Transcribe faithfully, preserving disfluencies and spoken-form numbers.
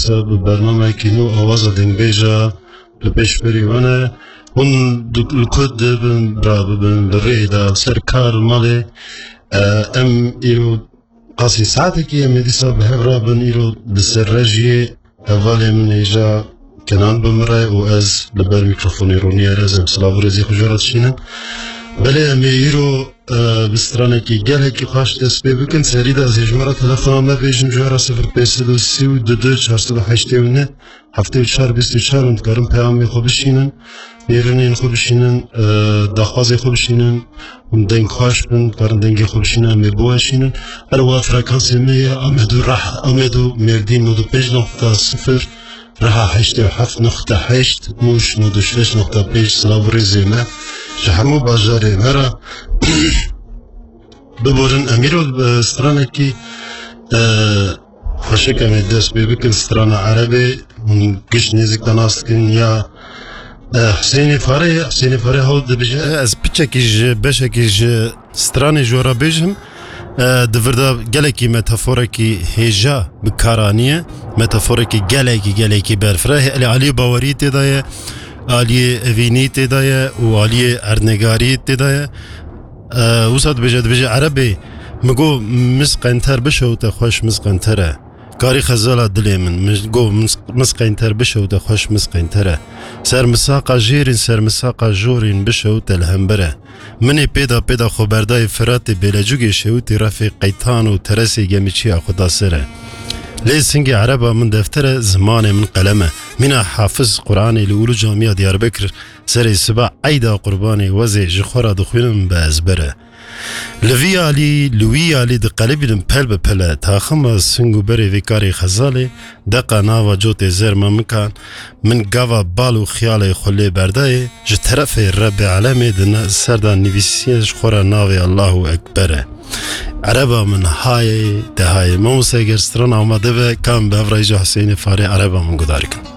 dîsa bi bernameyekî nû awaza dengbêja li pêşberî we ne. Hûn di, li ku dibin, bira bibin, bi rê de, ser kar, malê. E, em îro qasî saetekî em ê dîsa bi hev re bin, îro di ser re jî yê hevalê min hêja Kenan bi min re û ez li ber mîkrofonê Ronî Erez em silav û rêzê xwe ji we re dişînin. Belê em ê îro, e, bi stranekî gelekî xweş dest pê bikin. Serî de ez ê ji me re telefona me bêjim, ji we re sifir pênc sed û sî û du du çar sed û heştê û neh heftê û çar bîst û çar hûn dikarin peyamê xwe bişînin, nêrînên xwe bişînin, e, daxwazê xwe bişînin, hûn deng xweş bin, dikarin dengê xwe bişînin, em ê biweşînin. Her wiha frekansê me ye Amed û Rah-, Amed û Mêrdîn nod û pênc noqta sifir, Reha heştê û heft noqta heşt, Mûş nod û şeş noqta pênc, silav û rêzê me ji hemû bajarê me re. Biborin em îro, e, stranekî, e, xweşik em ê dest pê bikin, strana erebê, hûn giş nêzik de nas dikin ya, e, Husênê Farê ye, Husênê Farê hewl dibije. Ez piçekî ji, beşekî ji stranê ji we re bêjim. E, di vir de gelekî metaforekî hêja bi kar aniye. Metaforekî gelekî, gelekî berfireh e. Aliyê bawerî tê de ye, aliyê evînî tê de ye û aliyê erdnegarî tê de ye. E, wisa dibêje, dibêje erebê, mi got, "Mis qenter bişewite xweş mis qenter e." Karî xezala dilê min. Min got, "Mis, mis qeynter bişewite xweş mis qeynter e. Ser misaqa jêrîn, ser misaqa jorîn bişewite li hember e." Minê pêda pêda xwe berdayê Firatê bêlecûgê şewitî refê qeytan û teresê gemîçiya xwe da ser e. Lê singê ereba min defter e, zimanê min qelem e. Mîna Hafiz Quranê li Ulu Camiya Diyarbekir serê siba eyda qurbanê wezê ji xwe re dixwînim bi ezber e. Li vî alî, li wî alî diqelibînim pel bi pele, taxima sing û berê vê karê xezalê, deqa nava cotê zer memikan, min gava bal û xiyalê xwe lê berdayê, ji terefê Rebbê Alemê di na-, ser de nivîsiye ji xwe re navê Allahu Ekber e. Ereba min hayê, de hayê. Mamoste, eger stran amade be, kam bi hev re îca Husênê Farê ereba min guhdar kin.